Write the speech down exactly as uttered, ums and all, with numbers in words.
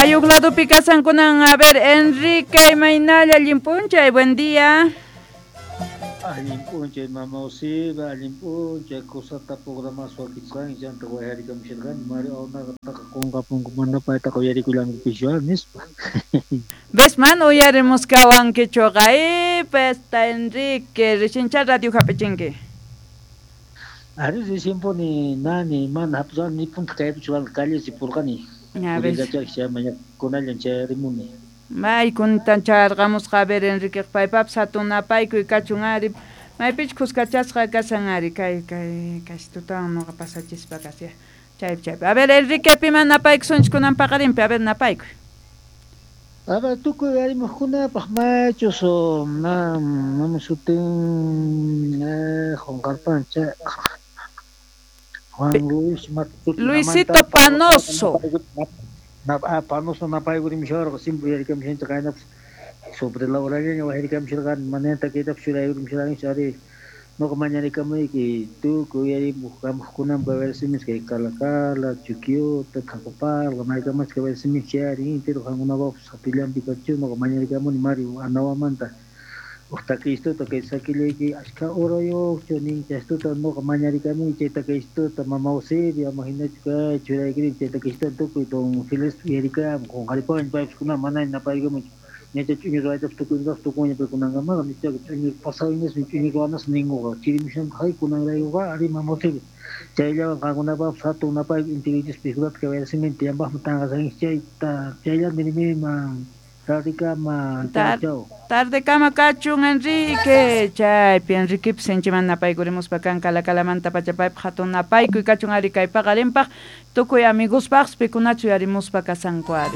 Mayuq ladopi kasankunan. A ver, Enrique, imaynalla, allin p'unchay, buen día. Allin p'unchay, mama Usiba, allin p'unchay, kusata programas wakichisqanki, chanta wayarikamusharqani, Mario Aunaqa qunqapunku mana paytaqa uyarikullankupischu nispa. Ves, man uyarimuskawankichuqa, pesta Enrique, recién radio hap'ichinki. Ari recienpuni nani mana hap'isqani ni punta kaypichu calle purqani. A ver. Kunallan chayarimuni. May kuntan chayarqamusqa, a ver, Enrique, paypapas hatun napaykuy kachun ari, maypichu kuskachasqa kasan ari, kay kay kaystutawan nuqa pasachispa kasya, chaypi chaypi. A ver, Enrique, piman napaykusunchik kunan paqarinpi, a ver, napaykuy. A ver, tukuy arimuqkunapaq maychus na mama sutin qunqarpancha Juan Luis Luisito Panoso. Panoso napaykurimsharqa, simple uyarikamushanchik qaynapas sobre la horallaña wajarikamsharqani mananta kaytapas churaykurimsharqanchik ari nuqa mañarikamuyki tukuy uyarimuq kamuqkunampa versimis kay Calacala, Chuquiota, Thacaparqa maykamachka versimis chay ari entero qankunapapas sapillanpi kachu nuqa mañarikamuni Mario Anawamanta uq takistuta kay sakillayki ashka urayuqchu nin chaystuta nuqa mañarikamuni chay takistuta mama Eusebia ama hinachu kay churaykirin chay takistuta tukuy don Feliz uyarikamun qunqaripawan paypas kunan mana napaykamunchu ñacha ch'uñu ruwaytapas tukuynipaq tukuña paykunankamaqa nichaqa ch'uñu pasawinasmi ch'uñu ruwanas ninkuqa chirimushanqa hay kunanraykuqa ari mama Eusebia chayllawan qankunapapas hatun napayku intiruchispa pikulata kay versimente yanpaqmi tanqasankichik chayta chayllanta nirimiman tardekama. Tar tardekama kachun Enrique, chaypi Enriquepis sinchiman napaykurimuspa kan Calacalamanta pacha paypaq hatun napaykuy kachun ari kay paqarinpaq tukuy amiguspaqpas pikunachu uyarimuspa kasanku ari.